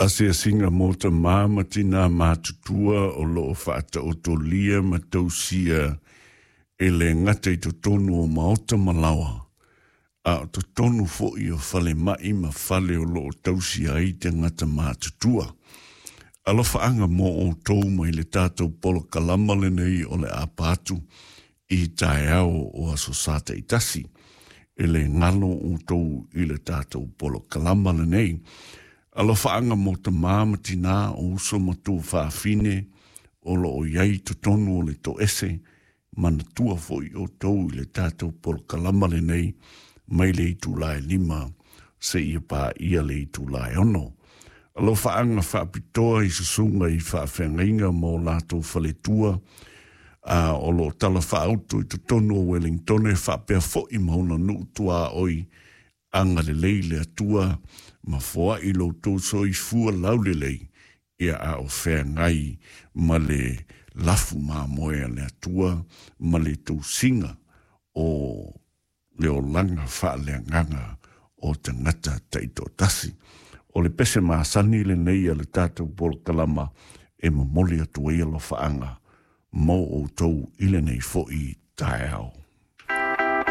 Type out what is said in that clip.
Asiasiga mo tamā ma tinā matutua o loo faataotolia ma tausia e le gata i totonu o maota ma laoa, a o totonu fo'i o falemai ma fale o loo tausia ai tagata matutua. Alofaaga mo outou mai le tatou polokalama lenei o le apa atu i taeao o Aso Sa taitasi. E le galo outou i le tatou polokalama lenei. Alofaaga mo tamā ma tinā o uso ma tuafafine o loo i ai i totonu o le toese, manatua fo'i outou i le tatou polokalama lenei mai le itula e 5 seia paia le itula e 6. Alofaaga faapitoa i susuga i faafeagaiga ma o latou faletua a o loo tala faauto i totonu o Wellingtone faapea fo'i ma ona nuu tuaoi, agalelei le Atua ma foai lo outou soifua laulelei ia a o feagai ma le lafu mamoe a le Atua ma le tausiga o le olaga faaleagaga o tagata taitoatasi. O le pese masani lenei a le tatou polokalama e momoli atu ai alofaaga mo outou i lenei fo'i taeao.